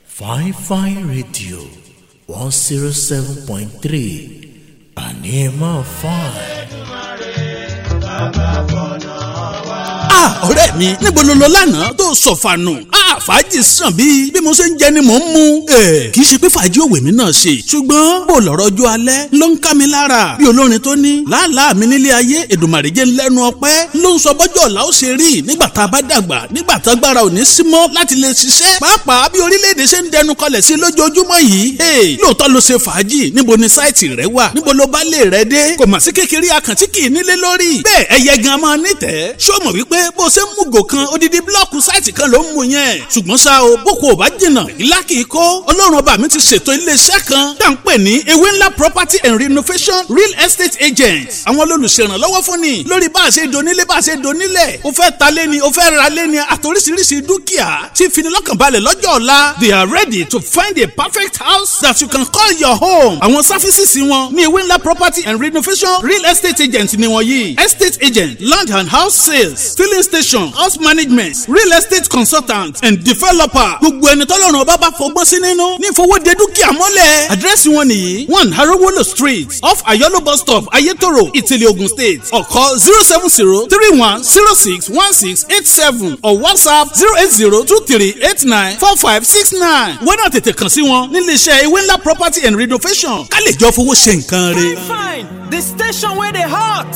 Fine Fine Radio 107.3, àní ẹ máa fine. Ah, ọ̀rẹ́ mi, níbo ló lọ lánàá tó sọ̀fànù? Ah, fàájì sàn bí bí mo ṣe ń jẹ ni mò ń mu. Ẹ kì í ṣe pé fàájì òwe mi náà ṣe, ṣùgbọ́n bó lọ̀rọ̀ ọjọ́ alẹ́ ló ń ká mi lára. Bí olórin tó ní làálàá mi nílé ayé, Èdùmàrè jẹ́ ńlẹ́nu ọpẹ́ ló ń sọ bọ́jọ́ ọ̀la ó ṣe rí nígbà tá a bá dàgbà, nígbà tá agbára ò ní sí mọ́ láti lè ṣiṣẹ́. Pàápàá bí orílẹ̀-èdè ṣe ń dẹnu kọlẹ̀ sí lójoojúmọ́ yìí. Lóòótọ́ ló ṣe fàájì, níbo ni sáìtì rẹ wà, níbo ló bá lè rẹ dé? Kò mà sí kékeré akàntí kì í nílé lórí. Bẹ́ẹ̀ ẹyẹ gan máa nítẹ̀ẹ́. Ṣé o mọ̀ wípé bó ṣe ń mú gò kan odidi blọọkù sáìtì kan ló ń mú yẹn? Ṣùgbọ́n ṣá o, boko ò bá jìnnà, ìlà kìí kó. Ọlọ́run ọba mi ti ṣètò iléeṣẹ́ kan tá à ń pè ní Ewé Ńlá Property and Renovation Real Estate Agents. Àwọn olùṣèrànlọ́wọ́ fún ni lórí bá a ṣe donílé, bá a ṣe donílẹ̀. O fẹ́ ta lé ni, o fẹ́ ra lé ni, àtòríṣiríṣi dúkìá tí finilọ́kànbalẹ̀ lọ́jọ́ ọ̀la. They are ready to find a perfect house that you can call your home. Àwọn sáfísìsì wọn ní Ewé Ńlá Property and Renovation Real Estate Agents ni wọ́n yìí: estate agent, land and house sales, filling station, house management, real estate consultant and developer. Gbogbo ẹni tọ́lọ́run ọba bá fọgbọ́n sí nínú ní ìfowóde dúkìá mọ́lẹ̀. Àdírẹ́sì wọn nìyí: 1 Arowolo Street, off Ayolo bus stop, Ayetoro, Ìtìlẹ̀, Ogun State. Or call 07031061687 or WhatsApp 08023894569. Wọ́n náà tètè kàn sí wọn nílé iṣẹ́ Ewé Ńlá Property and Renovation ká lè jọ fowó ṣe nǹkan rẹ̀. Fine, the station where they hot.